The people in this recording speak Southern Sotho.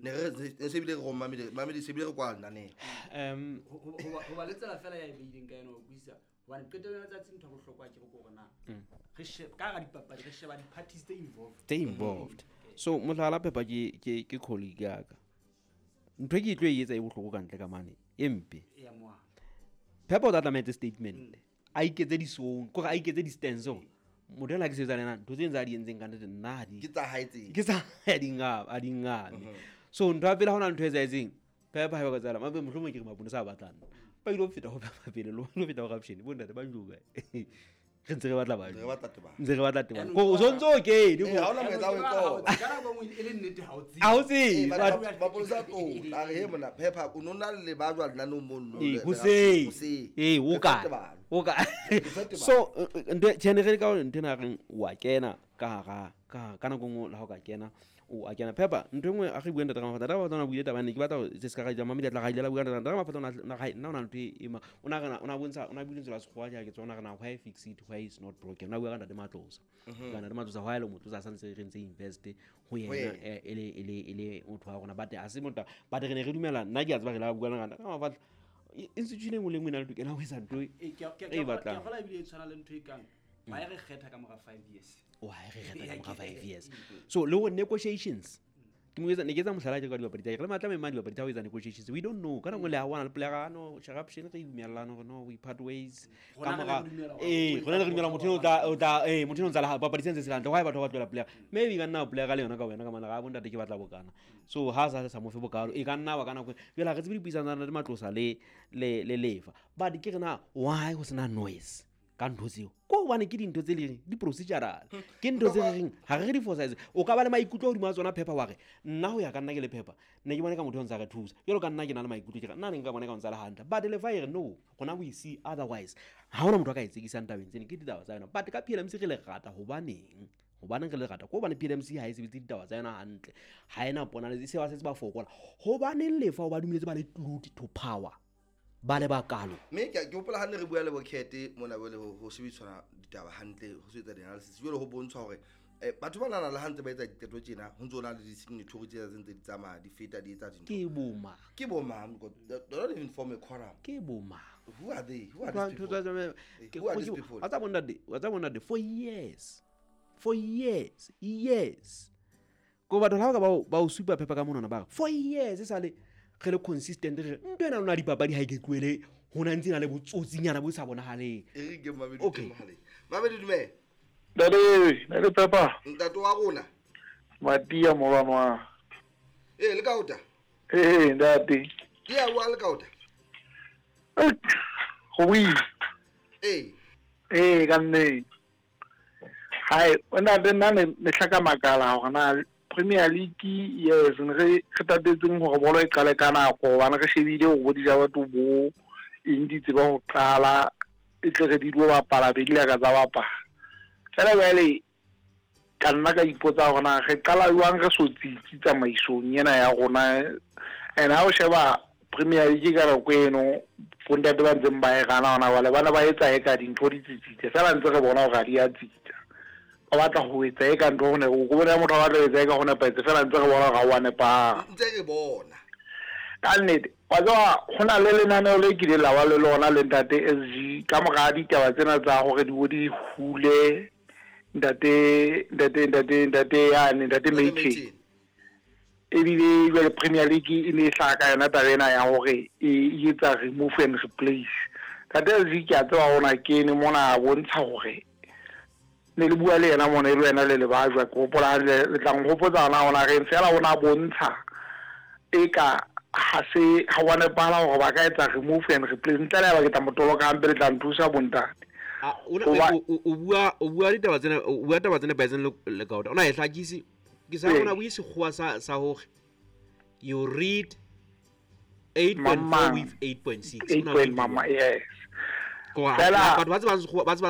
Ne re ne se bile re go mamedi mamedi se bile re kwa lenaneo. Ho ba le tsela fela ya e beileng ka yona ho buisa hobane qetellong ya letsatsi ntho ya bohlokwa ke re ke hore na re ka hara dipapadi re sheba di-parties tse involved. Tse involved. So mohlala Pepper ke colleague ya ka. Ntho e ke tlo e etsa e bohloko ka ntle ka mane e mpe. Ya moa. Pepper o tla tlameha etse statement. A iketse di-song, kore a iketse di-stance hore motho enwa ha ke sebetsa le yena, ntho tse tsa di entseng ka nnete nna ha di Ke tsa hae tse. Ke tsa hae, a di ngame. So ntho ya pele ha hona ntho e etsahetseng, Pepper ha e ba ka tsala, mabe mohlomong ke re maponesa a batlang. Ba ile ho feta ho Pepper pele, le ho feta ho Corruption, bo ntate ba joka. Re ntse re batla ba. Re batla tebang. Ntse re batla tebang. Yaanong Ko o sontso o kene, Eh, ko. ha hona monyetla wa ho e qoba. Ka nako e nngwe e le nnete ha o tsebe. Ha o tsebe. Eh, maponesa a tlo, a re, he mona, Pepper, o no na le ba jwang lenaneong mono? Eh, hoseng. Hoseng. Eh, o Re kae? fa tebalo. O kae? Re fa tebalo. So, ntho e, tjhe, ne re le ka hore ntho ena reng, wa kena ka hara, ka nako e nngwe le ha o ka kena, o a kena. Pepper, ntho e nngwe a re bue ntate Ramafata, ntate Ramafata o na buile taba ene, ke batla hore se ska ra ija, mamedi a tla ra ile la bua ntate Ramafata o na, na, nna o na ntho e ma, o na re na, o na bontsha, o na buile lentswe la sekgowa ke tsona re na why fix it, why is not broken. O na bua ka ntate Matlosa. Ka ntate Matlosa, why le Motlosa sa ntse re ntse invest ho yena, Ho yena. e le motho wa rona, but ha se motho, but re ne re dumela, nna ke a tseba re la bua le ntate Ramafata. Institution e nngwe le nngwe e na le tokelo ya ho etsa ntho Eh, ke a- ke a- e ke a- batlang. ke a kgolwa ebile e tshwana le ntho e kang, why re kgetha ka mora 5 years? Why re kgetha ka mora 5 years? So le ho negotiations, ke mo etsa, ne ke etsa mohlala ke ka dibapadi tsa, re le matla mema dibapadi tsa ho etsa negotiations. We don't know. Ka nako le ha wana le player no, corruption re dumellana hore no, we part ways. Ka Rona re mora ne re dumela hore eh, o rona ne re dumela motho eno o tla, o tla, eh, motho eno o ntsa le ha, papadi tse ntse se le hantle. Why batho ba tlohela player? Maybe ka nna player ka le yona ka wena ka mana, ga bontate ke batla bokana. So ha sa sa mo fe bokalo, e ka nna ba ka nako. Jwale ha re tsebe dipuisano tsa ntate Matlosa le Lefa. But ke re na why ho sena noise ka ntho tseo? Ko hobane ke dintho tse leng di procedural. Ke ntho tse reng ha re di force. O ka ba le maikutlo hodima tsona Pepper wa re nna ho ya ka nna ke le Pepper, ne ke bone ka motho o ntsa re thusa. Jwalo ka nna ke na le maikutlo ke re nna ne nka bona ka o ntsa le hantle. But le fa e re no, rona we see otherwise. Ha hona motho a ka e tsekisang tabeng tsena, ke ditaba tsa yona. But ka PLMC re le rata hobaneng? Hobaneng re le rata? Ko hobane PLMC ha e sebetse ditaba tsa yona hantle. Ha ena pona le se ba setse ba fokola. Hobaneng Lefa o ba dumelletse ba le glued to power? Ba le bakalo. Mme ke hopola ha ne re bua le Bokete mona jwale ho sebedisana ditaba hantle, ho sebetsa di-analysis. Jwale ho bontsha hore, batho ba nana le ha ntse ba etsa diqeto tjena, ho ntso na le di-signatory tse tse ntse di tsamaya, di feta, di etsa dintho. Ke bo mang? Ke bo mang? Because they don't even form a quorum. Ke bo mang? Who are they? Who are Ntho these tsa people? tsa ke Who are these ke people? Wa tsa bona de, wa tsa bona de, for years. For years, years. Ko batho ha ba ka ba o supa Pepper ka monwana ba re, for years e sale re le consistent re ntho ena lona dipapadi ha e ke tlohele ho na ntse na le botsotsinyana bo sa bonahaleng. E re ke Mamedi Okay. teng mohaleng. Mamedi dumela. Ntate, ntate Pepper. Ntate wa rona. Matia molwana wa. Eh, le kaota. Eh, ntate. Ya wa le kaota. Eh, go buile. Eh. Eh, ka nnete. Hai, ntate nna ne hlaka makala hore na Premier League, yes, ne re tatetseng hore bolo e qale ka nako, hobane re shebile hore bo dija batho bo eng di tseba ho qala, e tle re di lo bapala, be di la ka tsa bapala. Fela jwale, ka nna ka ipotsa hore na re qala jwang re so tsitsi tsamaisong ena ya rona. And ha o sheba Premier League ka nako eno, bontate ba ntseng ba e gana hona jwale, bana ba etsa eka dintho di tsitsitse, fela ntse re bona hore ha di a tsitsa. Ba batla ho etsa eka ntho ho ne, o bona motho a batla ho etsa eka ho nepahetse, fela ntse re bona hore ha o a nepahala. Ntse re bona. Ka nnete, wa tseba, ho na le lenaneo le kileng la ba le lona le ntate SG ka mora ditaba tsena tsa hore di bo di hule ntate yane, ntate Ntate Mayton. Mayton. Ebile jwale Premier League e ne e hlaha ka yona taba ena ya hore e etsa remove and replace. Ntate SG ke a tseba hona kene mona a bontsha hore ne le bua le yena mona e le wena le Lebajwa, ke hopola le tla nhopotsa hona hona reng fela o na bontsha eka ha se ha wa nepahala hore ba ka etsa remove and replace. Ntle le ha ba ke tla mo toloka hampe le tla nthusa bontate. Ah, o na, Hoba o bua ditaba tsena, o bua taba tsena nepahetseng le kaota. O na e hlakise. Ke sa Ee. bona bue sekgowa sa hore you read 8.4 Mama. with 8.6. Eight O na point bue mama, jwang? yes. Ko ha Fela batho ba tsebang sekgowa, ba tsebang